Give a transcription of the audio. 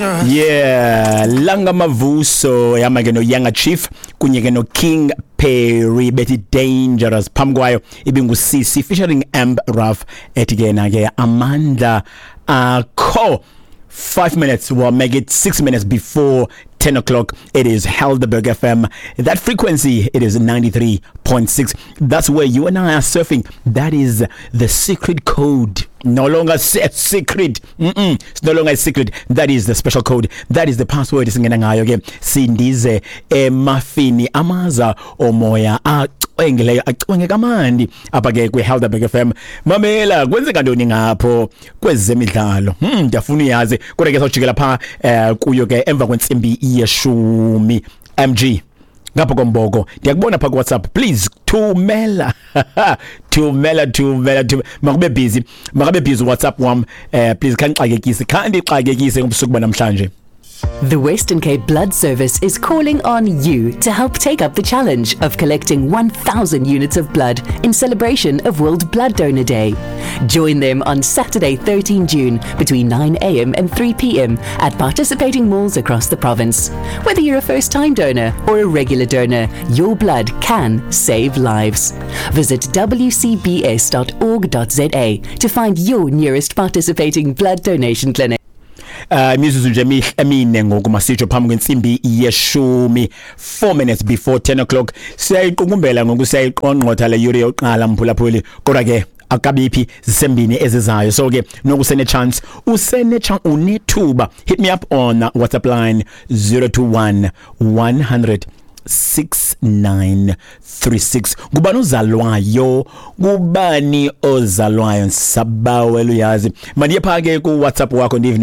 Yeah, Langa Mavuso yama ke no Younger Chief kunye ke no King Perry bethi Dangerous. Phambi kwayo ibingu CC featuring Amp Ruff ethi ke na ke Amandla Akho. 5 minutes will make it 6 minutes before 10 o'clock. It is Helderberg FM. That frequency, it is 93.6. That's where you and I are surfing. That is the secret code. No longer secret. It's no longer a secret. That is the special code. That is the password. Singena ngayo ke sindize emafini amaza omoya acwengileyo, acwenge kamandi apha ke kwi-Helderberg FM. Mamela, kwenzeka ntoni ngapho kwezemidlalo? Ndiyafuna uyazi, kodwa ke sawujikela pha kuyo ke emva kwentsimbi yeshumi. MG ngapha komboko, ndiyakubona pha kuWhatsApp. Please thumela, thumela, thumela, thumela. Makube busy, makabe busy WhatsApp wam. Please khandixakekise, khandixakekise ngobusuku banamhlanje. The Western Cape Blood Service is calling on you to help take up the challenge of collecting 1,000 units of blood in celebration of World Blood Donor Day. Join them on Saturday, 13 June, between 9 a.m. and 3 p.m. at participating malls across the province. Whether you're a first time donor or a regular donor, your blood can save lives. Visit wcbs.org.za to find your nearest participating blood donation clinic. Imizuzu nje emine ngoku, masitsho phambi kwentsimbi yeshumi, 4 minutes before 10 o'clock. Siyayiqukumbela ngoku, siyayiqongqotha le yure yokuqala, mphulaphuli, kodwa ke akabiphi, zisembini ezizayo. So ke noku usene chance, usene chance, unethuba. Hit me up on WhatsApp line 021 100 6936. Kubani ozalwayo? Kubani ozalwayo? Sabawela uyazi, mandiye pha ke ku WhatsApp wakho, ndive.